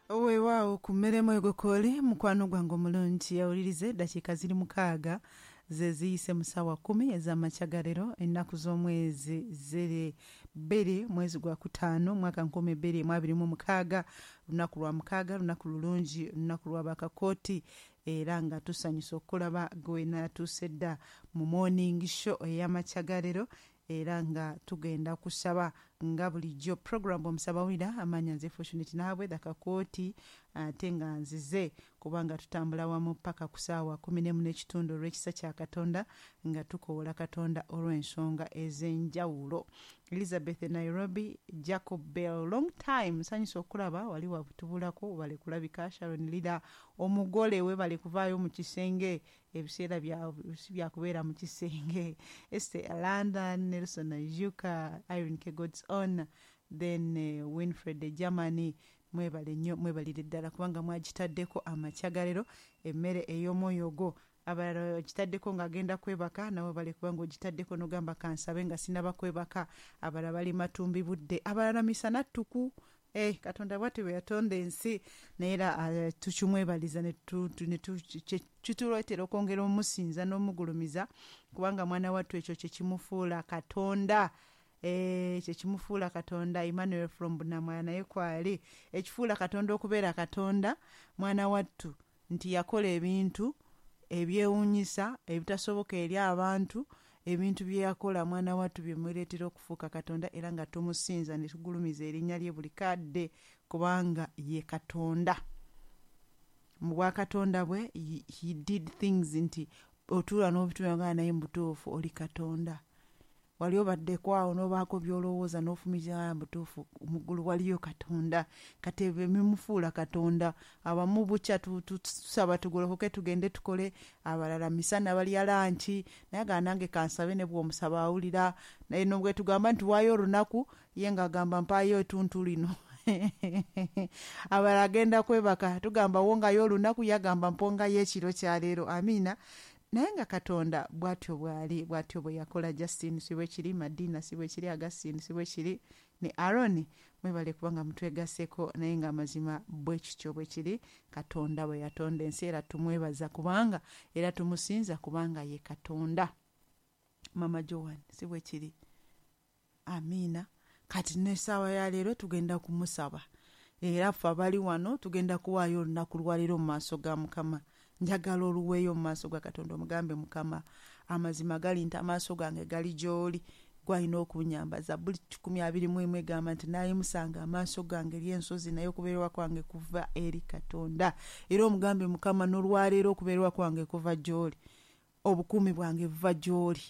Weewaawo ku mmeremu egokoole, mukwano gwange omulungi awulirize, eddakiika ziri 6 ze ziyise mu ssaawa 10 ez'amakya ga leero, ennaku z'omwezi ziri 2, mwezi gwa 5, mwaka 2026, lunaku lwa mukaaga, lunaku lulungi, lunaku lwa bakakooti, era nga tusanyusa okulaba gwe natuuse dda mu morning show ey'amakya ga leero, era nga tugenda kusaba nga bulijjo. Program omusabawulira amanya nze Fortunate Naabwe Dakakooti, ate nga nzize kubanga tutambula wamu paka ku ssaawa 11:30 olw'ekisa kya Katonda, nga tukoola Katonda olw'ensonga ez'enjawulo. Elizabeth Nairobi, Jacob Bell, long time, nsanyusa okulaba wali wabutubulako, bale kulabika. Sharon Lira omugole we bale kuvaayo mu kisenge, ebiseera si byakubeera mu kisenge. Esther London, Nelson Ajuka, Irene K God's own, then Winfred Germany, mwebale nnyo, mwebalire ddala kubanga mwagitaddeko amakya ga leero emmere ey'omwoyo gwo. Abalala ogitaddeko ng'agenda kwebaka, nawe bale kubanga ogitaddeko n'ogamba kansabe nga sinaba kwebaka. Abalala bali matumbi budde, abalala misana ttuku. Katonda bw'atyo bwe yatonda ensi, naye era tukimwebaliza ne kituleetera okwongera omusinza n'omugulumiza, kubanga mwana wattu ekyo kye kimufuula Katonda. Kye kimufuula Katonda. Emmanuel from Bunamwaya naye kwali ekifuula Katonda okubeera Katonda, mwana wattu, nti yakola ebintu ebyewuunyisa ebitasoboka eri abantu. Ebintu bye yakola mwana wattu byemuleetera okufuuka Katonda, era nga tumusinza ne tugulumiza erinnya lye buli kadde, kubanga ye Katonda. Mu bwakatonda bwe he did things nti otuula n'obitunula naye mu butuufu oli Katonda. Wali obaddeko awo n'obaako by'olowooza n'ofumiitiriza mu butuufu mu ggulu waliyo Katonda. Kati ebyo bimufuula Katonda. Abamu bukya tusaba tugolokoke tugende tukole, abalala misana balya lanki, naye agamba nange kansabe, ne bw'omusaba awulira. Naye bwe tugamba nti waayo olunaku, ye ng'agamba mpaayo ettuntu lino. Abalala agenda kwebaka, tugamba wongayo olunaku, ye agamba mpongayo ekiro kya leero. Amiina. Naye nga Katonda bw'atyo bw'ali, bw'atyo bwe yakola. Justin si bwe kiri, Madina si bwe kiri, Augustine si bwe kiri, ne Aaron, mwebale kubanga mutwegasseko, naye nga amazima bwe kityo bwe kiri. Katonda bwe yatonda ensi, era tumwebaza kubanga era tumusinza kubanga ye Katonda. Mama Joan si bwe kiri. Amiina. Kati n'essaawa ya leero tugenda kumusaba, era ffe abali wano tugenda kuwaayo olunaku lwa leero mu maaso ga Mukama. Njagala oluweeyo mu maaso ga Katonda, omugambe Mukama, amazima gali nti amaaso gange gali gy'oli, gwalina okunyamba. Zabbuli 121 egamba nti naayimusanga amaaso gange eri ensozi, naye okubeerwa kwange kuva eri Katonda. Era omugambe Mukama, n'olwaleero okubeerwa kwange kuva gy'oli, obukuumi bwange buva gy'oli,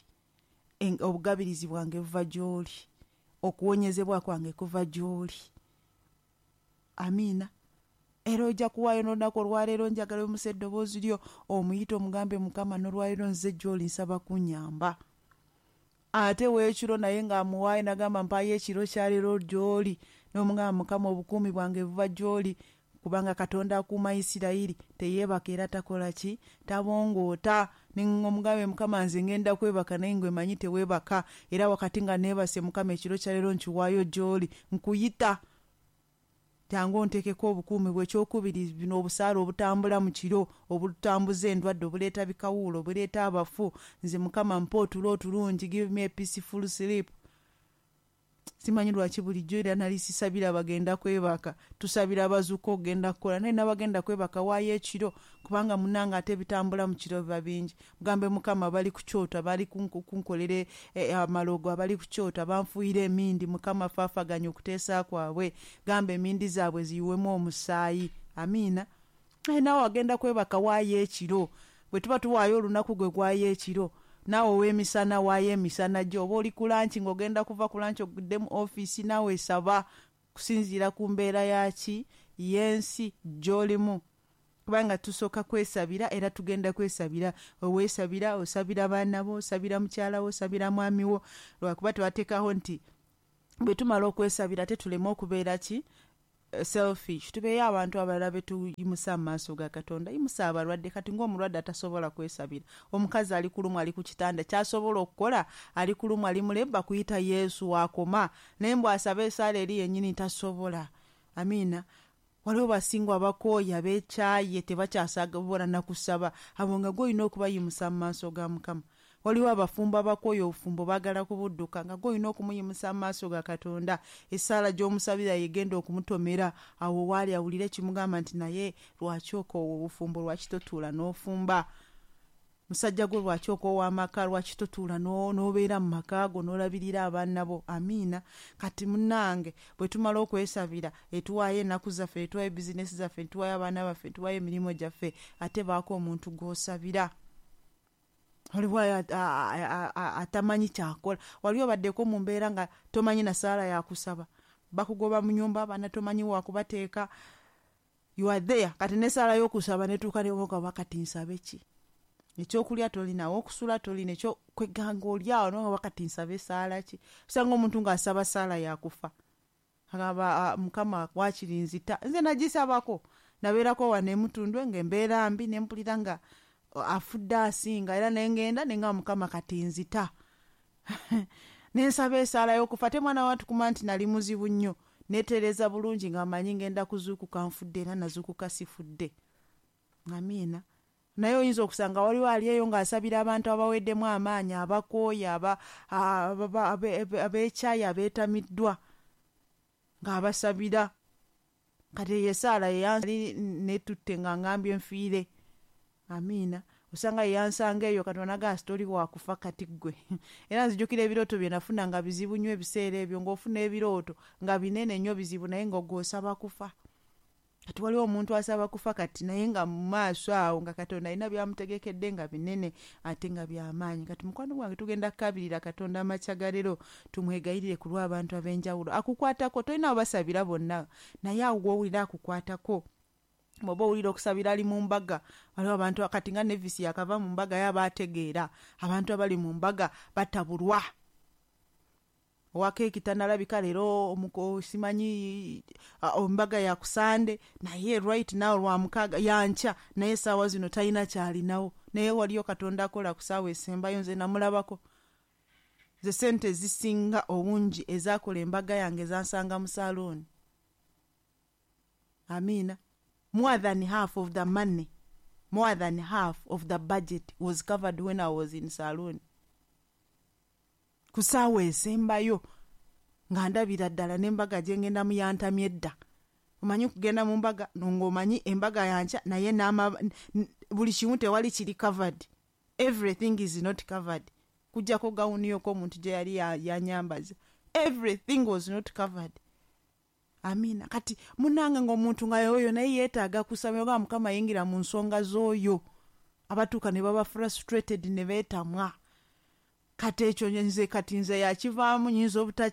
obugabirizi bwange buva gy'oli, okuwonyezebwa kwange kuva gy'oli. Amiina. Era ojja kuwaayo n'olunaku olwaleero, njagala oyimusa eddoboozi lyo omuyite omugambe Mukama, n'olwaleero nze gy'oli nsaba kunyamba. Ate weekiro naye ng'amuwaayo n'agamba mpaayo ekiro kya leero gy'oli, n'omugamba Mukama obukuumi bwange buva gy'oli, kubanga Katonda akuuma Isirayiri teyeebaka era takola ki, tabongoota. Omugambe Mukama nze ngenda kwebaka naye ngwe manyi teweebaka, era wakati nga neebase Mukama ekiro kya leero nkiwaayo gy'oli, nkuyita jangu onteekeko obukuumi bwe. Ekyokubiri, bino obusaale obutambula mu kiro, obutambuza endwadde, obuleeta bikawuulo, obuleeta abafu, nze Mukama mpa otulo otulungi, give me a peaceful sleep. Simanyi lwaki bulijjo era nali sisabira bagenda kwebaka, tusabira abazuuka okugenda kukola, naye n'abagenda kwebaka waayo ekiro, kubanga munnange ate ebitambula mu kiro biba bingi. Mugambe Mukama bali ku kyoto, abali kunkolera amalogo, abali ku kyoto, abanfuuyira emindi, Mukama faafaganya okuteesa kwabwe, gamba emindi zaabwe ziyiwemu omusaayi. Amiina. Naye naawe agenda kwebaka waayo ekiro, bwe tuba tuwaayo olunaku gwe gwaayo ekiro, naawe ow'emisana waayo emisana gyo, oba oli ku lanki ng'ogenda kuva ku lanki ogudde mu ofiisi, naawe saba kusinziira ku mbeera yaki y'ensi gy'olimu, kubanga tusooka kwesabira era tugenda kwesabira. Oweesabira, osabira baana bo, osabira mukyala wo, osabira mwami wo, lwakuba twateekawo nti bwe tumala okwesabira ate tuleme okubeera ki selfish, tubeeyo abantu abalala be tuyimusa mu maaso ga Katonda. Yimusa abalwadde. Kati ng'omulwadde atasobola kwesabira, omukazi ali kulumwa ali ku kitanda, ky'asobola okukola ali kulumwa ali mulebba kuyita Yesu waakoma, naye mbu asabe esaala eri yennyini tasobola. Amiina. Waliwo basingwa abakooye, abeekyaye, tebakyasobola na kusaba, abo nga gw'olina okubayimusa mu maaso ga Mukama. Waliwo abafumbo abakooye obufumbo baagala kubudduka, nga gw'olina okumuyimusa mu maaso ga Katonda. Essaala gy'omusabira yegenda okumutomera awo waali awulire kimugamba nti naye lwaki okoowa obufumbo, lwaki totuula n'ofumba? Musajja gwe lwaki okoowa amaka, lwaki totuula n'obeera mu maka go n'olabirira abaana bo? Amiina. Kati munnange bwe tumala okwesabira, etuwaayo ennaku zaffe, etuwaayo bizinesi zaffe, etuwaayo abaana baffe, etuwaayo emirimu gyaffe, ate baako omuntu gw'osabira. Waliwo atamanyi kyakola, wali obaddeko mu mbeera nga tomanyi na ssaala yakusaba, bakugoba mu nyumba, abaana tomanyi wakubateeka, you are there. Kati n'essaala y'okusaba netuuka newoga, kati nsabe ki? Ekyokulya tolina, okusula tolina, ekyokweganga oli awo noga, kati nsabe essaala ki? Osanga omuntu ng'asaba ssaala yakufa, agamba Mukama wakiri nzita. Nze nagisabako, nabeerako wano emutundwe ng'embeera mbi, nempulira nga afudde asinga, era nengenda nenga Mukama kati nzita, nensaba essaala y'okufa. Te mwana watukuma nti nali muzibu nnyo, netereeza bulungi nga manyi ngenda kuzuukuka nfudde, era nazuukuka sifudde. Amiina. Naye oyinza okusanga waliwo ali eyo ng'asabira abantu abaweddemu amaanyi, abakooye, abeekyaye, abeetamiddwa, ng'abasabira. Kati eyo essaala yeyanali netutte nga ngambye nfiire. Amiina. Osanga yeyansanga eyo Katonda naga sitori wakufa kati ggwe. Era nzijukira ebirooto bye nafuna nga bizibu nnyo ebiseera ebyo, ng'ofuna ebirooto nga binene nnyo bizibu, naye nga gw'osaba kufa. Kati waliwo omuntu asaba kufa kati, naye nga mu maaso awo nga Katonda alina byamutegekedde nga binene ate nga byamaanyi. Kati mukwano gwange, tugenda kukabirira Katonda amakya ga leero, tumwegayirire ku lw'abantu ab'enjawulo. Akukwatako, tolina basabira bonna, naye awo gw'owulira akukwatako. Bw'oba owulira okusabira ali mu mbaga, waliwo abantu kati nga Nevisi yakava mu mbaga, ye aba ategeera abantu abali mu mbaga batabulwa. Owa keeki tanalabika leero, simanyi embaga ya kusande, naye right now lwa mukaaga yankya, naye essaawa zino talina kyalinawo. Naye waliyo Katonda akola ku ssaawa esembayo. Nze namulabako, ze sente ezisinga obungi ezakola embaga yange zansanga mu saluuni. Amiina. More than half of the money, more than half of the budget was covered when I was in saloon ku ssaawa esembayo, nga ndabira ddala n'embaga gye ngendamu yantamye edda. Omanyi okugenda mu mbaga ng'omanyi embaga yankya, naye buli kimu tewali kiri covered, everything is not covered, kujjako gawuni yoko omuntu gye yali yanyambaza, everything was not covered. Amiina. Kati munange ng'omuntu nga oyo naye yeetaaga kusaba oga Mukama yingira mu nsonga z'oyo, abatuuka ne baba frustrated ne beetamwa. Kati ekyo nze kati nze yakivaamu, nyinza obuta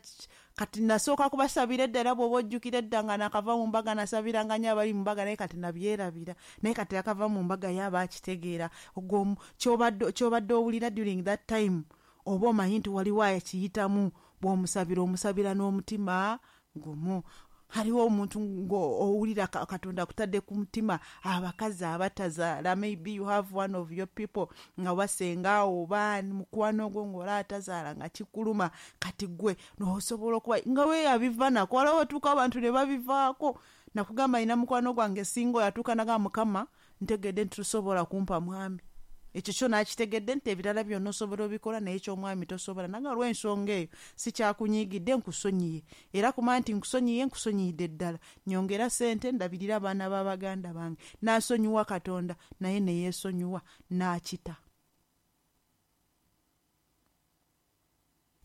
kati nasooka kubasabira edda, era bw'oba ojjukira edda nga nakava mu mbaga nasabiranga nnyo abali mu mbaga, naye kati nabyerabira. Naye kati akava mu mbaga ye aba akitegeera ogwo ky'obadde owulira during that time, oba omanyi nti waliwo akiyitamu, bw'omusabira omusabira n'omutima gumu. Haliwo omuntu ng'owulira Katonda akutadde ku mutima abakazi abatazaala, maybe you have one of your people nga wasenga oba mukwano gwo ng'ola atazaala nga kikuluma, kati gwe n'osobola okuba nga we yabiva nako. Waliwo otuuka abantu ne babivaako. Nakugamba ina mukwano gwange singa yatuuka naga Mukama ntegedde nti tosobola kumpa mwami, ekyo kyo nakitegedde nti ebirala byonna osobola obikola, naye ekyomwami tosobola, naga olw'ensonga eyo sikyakunyiigidde, nkusonyiye, era kumanya nti nkusonyiye, nkusonyiyidde ddala, nyongera sente ndabirira abaana b'abaganda bange. N'asonyiwa Katonda, naye ne yeesonyiwa n'akita.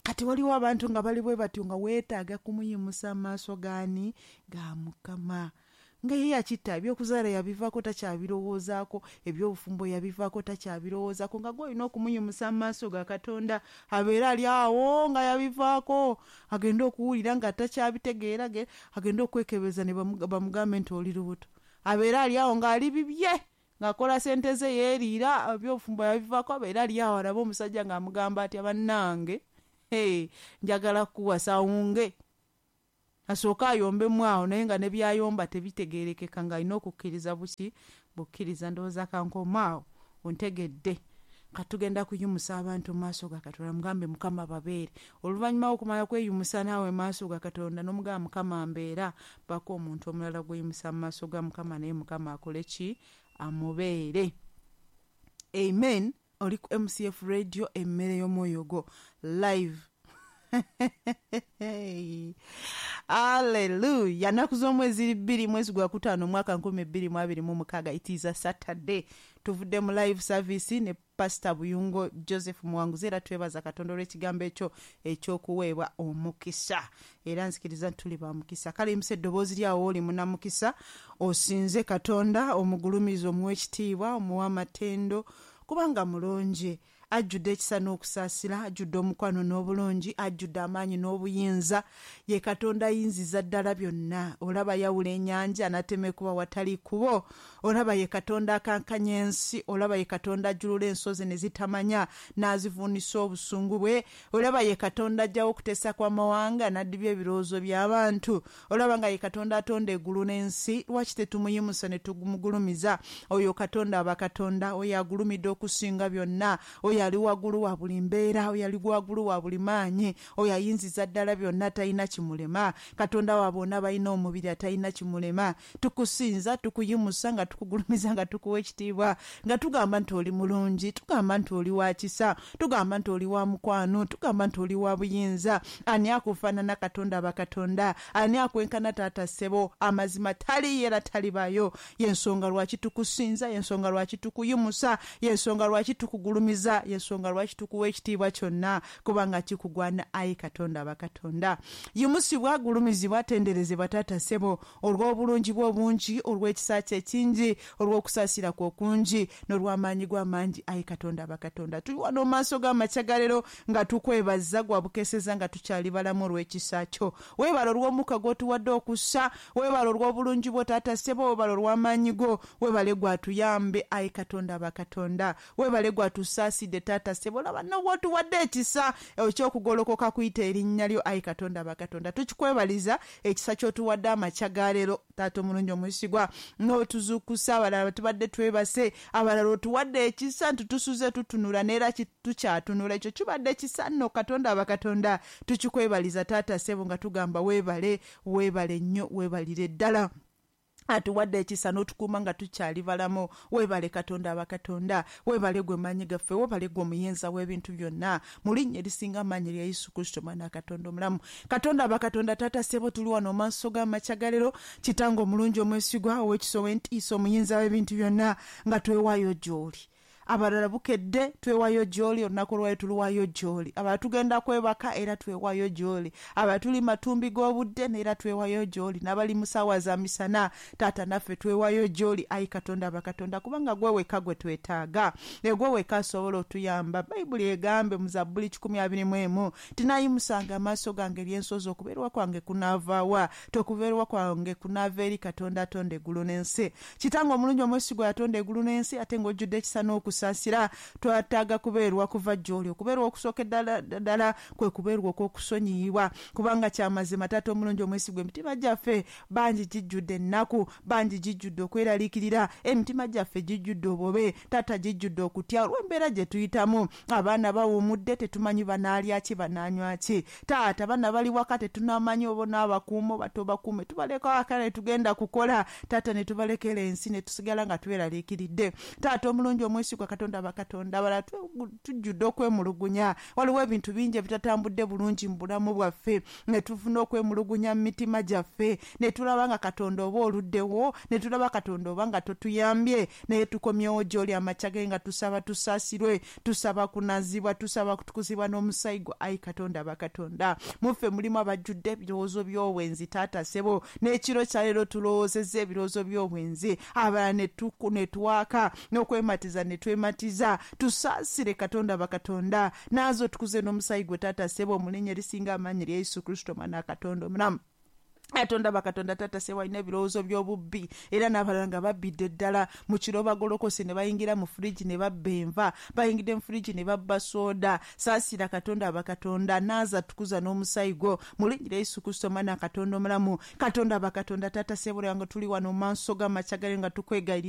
Kati waliwo abantu nga bali bwe batyo, nga weetaaga kumuyimusa maaso gaani? Ga Mukama. Nga ye yakitta, ebyokuzaala yabivaako, takyabirowoozaako, ebyobufumbo yabivaako, takyabirowoozaako, nga gwe olina okumuyimusa mu maaso ga Katonda. Abeere ali awo nga yabivaako, agende okuwulira nga takyabitegeera, agende okwekebeza ne bamugambe nti oli lubuto, abeere ali awo ng'ali bibye, ng'akola sente ze, yeeriira, ebyobufumbo yabivaako, abeere ali awo alabe omusajja ng'amugamba atya, bannange njagala kukuwasa, awunge asooke ayombemu awo, naye nga ne byayomba tebitegeerekeka, ng'alina okukkiriza buki bukkiriza. Ndowooza kankomaawo, ontegedde. Katugenda kuyimusa abantu mu maaso ga Katonda, mugambe Mukama babeere. Oluvannyuma okumala kweyimusa naawe mu maaso ga Katonda n'omugamba Mukama mbeera, bako omuntu omulala gweyimusa mu maaso ga Mukama naye Mukama akole ki? Amubeere. Amen. Oli ku MCF Radio, emmere y'omwoyo gwo live. Hallelujah. Nnaku z'omwezi 2 mwezi gwa 5 omwaka 2026. It is a Saturday. Tuvudde mu live service ne Pastor Buyungo Joseph Muwanguzi, era twebaza Katonda olw'ekigambo ekyo eky'okuweebwa omukisa. Era nzikiriza nti tuli ba mukisa. Kale yimusa eddoboozi lyawo oli munamukisa, osinze Katonda, omugulumize, omuwe ekitiibwa, omuwe amatendo, kubanga mulungi. Ajjudde ekisa n'okusaasira, ajjudde omukwano n'obulungi, ajjudde amaanyi n'obuyinza. Ye Katonda ayinziza ddala byonna. Olaba yawula ennyanja n'atema ekkubo awatali kkubo. Olaba ye Katonda akankanya ensi. Olaba ye Katonda ajjulula ensozi ne zitamanya n'azivuunisa obusungu bwe. Olaba ye Katonda aggyawo okuteesa kw'amawanga n'addibya ebirowoozo by'abantu. Olaba nga ye Katonda atonda eggulu n'ensi. Lwaki tetumuyimusa ne tumugulumiza? Oyo Katonda aba Katonda, oyo agulumidde okusinga byonna, oyo ali waggulu wa buli mbeera, oyo ali waggulu wa buli maanyi, oyo ayinziza ddala byonna atalina kimulema. Katonda wa bonna abalina omubiri atalina kimulema. Tukusinza, tukuyimusa, nga tukugulumiza, nga tukuwa ekitiibwa, nga tugamba nti oli mulungi, tugamba nti oli wa kisa, tugamba nti oli wa mukwano, tugamba nti oli wa buyinza. Ani akufaanana Katonda aba Katonda? Ani akwenkana taata ssebo? Amazima taliiyo era talibaayo. Y'ensonga lwaki tukusinza, y'ensonga lwaki tukuyimusa, y'ensonga lwaki tukugulumiza, y'ensonga lwaki tukuwa ekitiibwa kyonna, kubanga kikugwana ayi Katonda aba Katonda. Yimusibwa, gulumizibwa, tenderezebwa taata ssebo, olw'obulungi bwo obungi, olw'ekisa kyo ekingi, olw'okusaasira kwo okungi, n'olw'amaanyi go amangi ayi Katonda aba Katonda. Tuli wano mu maaso go amakya ga leero nga tukwebaza gwabukeseza nga tukyali balamu olw'ekisa kyo. Weebale olw'omukka gw'otuwadde okussa, weebale olw'obulungi bwo taata ssebo, weebale olw'amaanyi go, weebale gwatuyambe ayi Katonda aba Katonda. Weebale gwatusaasidde taata ssebo, olaba n'obwotuwadde ekisa eky'okugolokoka kuyita erinnya lyo ayi Katonda aba Katonda. Tukikwebaliza ekisa ky'otuwadde amakya ga leero taata omulungi omwesigwa, n'otuzuukusa abalala tubadde twebase, abalala otuwadde ekisa nti tusuze tutunula n'era tukyatunula. Ekyo kibadde kisa nno Katonda aba Katonda. Tukikwebaliza taata ssebo nga tugamba weebale, weebale nnyo, weebalire ddala. Atuwadde ekisa n'otukuuma nga tukyali balamu. Weebale Katonda aba Katonda, weebale gwe maanyi gaffe, weebale gwe omuyinza w'ebintu byonna, mu linnya erisinga amaanyi erya Yesu Kristo omwana wa Katonda omulamu. Katonda aba Katonda, taata ssebo, tuli wano mu maaso go amakya ga leero, kitange omulungi omwesigwa, ow'ekisa, ow'entiisa, omuyinza w'ebintu byonna, nga twewaayo gy'oli. Abalala bukedde twewaayo gy'oli, olunaku olwayo tuluwaayo gy'oli. Abalala tugenda kwebaka era twewaayo gy'oli. Abalala tuli matumbi g'obudde era twewaayo gy'oli. N'abali mu ssaawa za misana, taata naffe twewaayo gy'oli ayi Katonda aba Katonda, kubanga gwe wekka gwe twetaaga, gwe wekka asobola otuyamba. Bayibuli egambe mu Zabbuli 121 tinayimusanga amaaso gange eri ensozi, okubeerwa kwange kunaavaawa? Tokubeerwa kwange kunaava eri Katonda atonda eggulu n'ensi. Kitange omulungi omwesigwa yatonda eggulu n'ensi, ate ng'ojjudde ekisa n'okusaasira, twetaaga kubeerwa kuva gy'oli. Okubeerwa okusooka ddala kwe kubeerwa okw'okusonyiyibwa, kubanga kyamazima taata omulungi omwesigwa, emitima gyaffe bangi gijjudde ennaku, bangi gijjudde okweraliikirira, emitima gyaffe gijjudde obubi, taata gijjudde okutya olw'embeera gye tuyitamu. Abaana bawummudde, tetumanyi banaalya ki banaanywa ki. Taata abaana bali waka, tetunamanyi oba onaabakuuma oba tobakuume, tubaleka waka ne tugenda kukola, taata ne tubalekera ensi ne tusigala nga tweraliikiridde. Taata omulungi omwesigwa, Katonda aba Katonda, abalala tujjudde okwemulugunya. Waliwo ebintu bingi ebitatambudde bulungi mu bulamu bwaffe, ne tufuna okwemulugunya mu mitima gyaffe, ne tulaba nga Katonda oba oluddewo, ne tulaba Katonda oba nga totuyambye, naye tukomyewo gy'oli amakya ge nga tusaba tusaasirwe, tusaba kunazibwa, tusaba kutukuzibwa n'omusaayi gwo ayi Katonda aba Katonda. Muffe mulimu abajjudde ebirowoozo by'obwenzi taata ssebo, n'ekiro kya leero tulowoozezza ebirowoozo by'obwenzi, abalala ne twaka n'okwematiza ne twematiza. Tusaasire Katonda aba Katonda, naaza otukuze n'omusaayi gwe taata ssebo, mu linnya erisinga amaanyi erya Yesu Kristo omwana wa Katonda omulamu. Katonda bakatonda taata ssebo alina ebirowoozo by'obubbi, era n'abalala nga babbidde ddala mu kiro bagolokose ne bayingira mu furiji ne babba enva, bayingidde mu furiji ne babba sooda. Saasira Katonda aba Katonda, naaza tukuza n'omusaayi gwo mu linnya erya Yesu Kristo omwana wa Katonda omulamu. Katonda aba Katonda taata ssebo, nga tuli wano mu maaso g'amakya gale nga tukwegayirira.